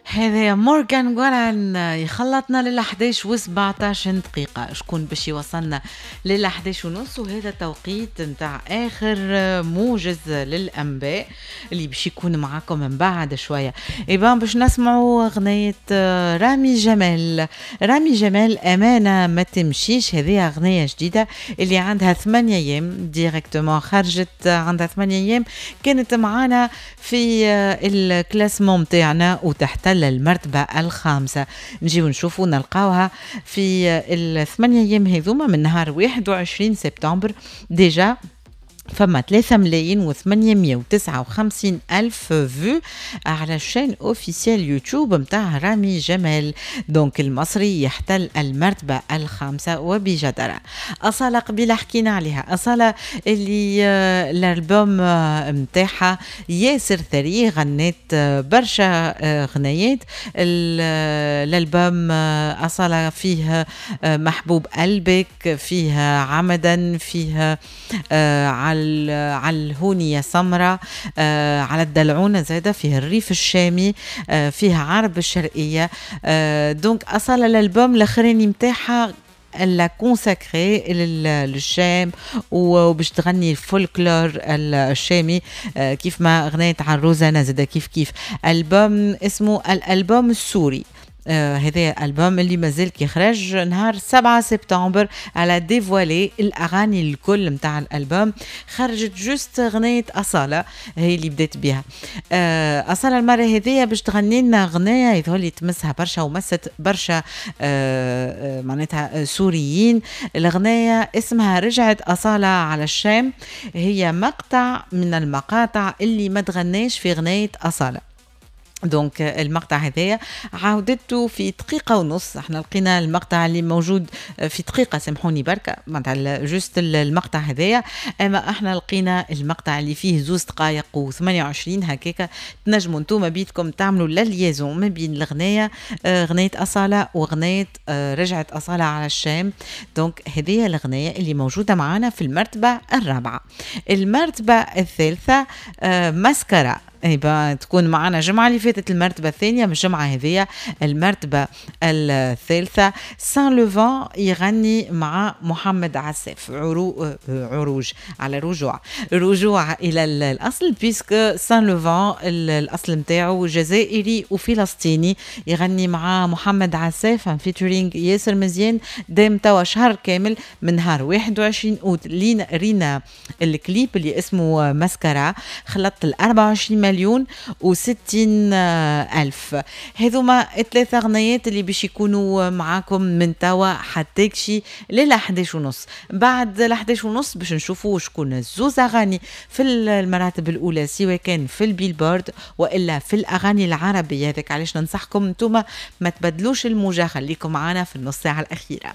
هذا مورغان وارن يخلطنا لل 11 و17 دقيقة. شكون باش يوصلنا لل 11 ونص؟ وهذا توقيت نتاع آخر موجز للأنباء اللي باش يكون معاكم من بعد شوية. eh ben باش نسمعوا أغنية رامي جمال. رامي جمال، أمانة ما تمشيش. هذه أغنية جديدة اللي عندها 8 أيام directement خرجت، عندها 8 أيام. كانت معانا في ال classement متاعنا وتحتل المرتبة الخامسة. نجيو نشوفوا نلقاوها في ال8 أيام هذوما من نهار 21 سبتمبر déjà فما 3 ملايين و859 ألف vues على ال chaîne officielle يوتيوب متاع رامي جمال. donc المصري يحتل المرتبة الخامسة وبجدارة. أصالة قبيلة حكينا عليها، أصالة اللي الألبوم متاعها ياسر ثري، غنت برشا غنيات. الألبوم أصالة فيه محبوب قلبك، فيه عمدا، فيه على الهونية سمرة، على الدلعونة زادة، فيه الريف الشامي، فيه عرب الشرقية. donc أصالة الألبوم الأخراني متاعها elle l'a consacré للشام وباش تغني الفولكلور الشامي، كيف ما غنيت على الروزانا زادة كيف كيف. ألبوم اسمه الألبوم السوري. هذا الالبوم اللي مازال كي خرج نهار 7 سبتمبر. elle a dévoilé الاغاني الكل نتاع الالبوم. خرجت juste غنية اصاله هي اللي بدات بها. اصاله المرة هذيا باش تغني لنا غنية يظهر لي تمسها برشا ومست برشا معناتها سوريين. الغنية اسمها رجعت اصاله على الشام، هي مقطع من المقاطع اللي ما تغناش في غنية اصاله. donc المقطع هذايا عاودته في دقيقة ونص. احنا لقينا المقطع اللي موجود في دقيقة، سامحوني بركة، معناتها juste المقطع هذايا، اما احنا لقينا المقطع اللي فيه 2 دقائق و28 هكاكا. تنجموا انتم بيدكم تعملوا la liaison ما بين الغناية غناية أصالة وغناية رجعت أصالة على الشام. donc هذه الغناية اللي موجودة معنا في المرتبة الرابعة. المرتبة الثالثة ماسكارا، eh ben تكون معنا الجمعة اللي فاتت المرتبة الثانية، من الجمعة هذه المرتبة الثالثة. سان لوفان يغني مع محمد عساف عروج على رجوع، رجوع إلى الأصل، puisque سان لوفان الأصل نتاعو جزائري وفلسطيني. يغني مع محمد عساف featuring ياسر مزيان، دام توا شهر كامل من نهار 21 اوت. لينا رينا الكليب اللي اسمه ماسكارا، خلطت ال 24 مليون و60 ألف. هذوما الثلاثة غنيات اللي باش يكونوا معاكم من توا حتى كشي لل 11 ونص. بعد ال 11 ونص باش نشوفوا شكون الزوز أغاني في المراتب الأولى، سواء كان في البيلبورد وإلا في الأغاني العربية. هذاك علاش ننصحكم انتوما ما تبدلوش الموجة، خليكم معنا في النص ساعة الأخيرة.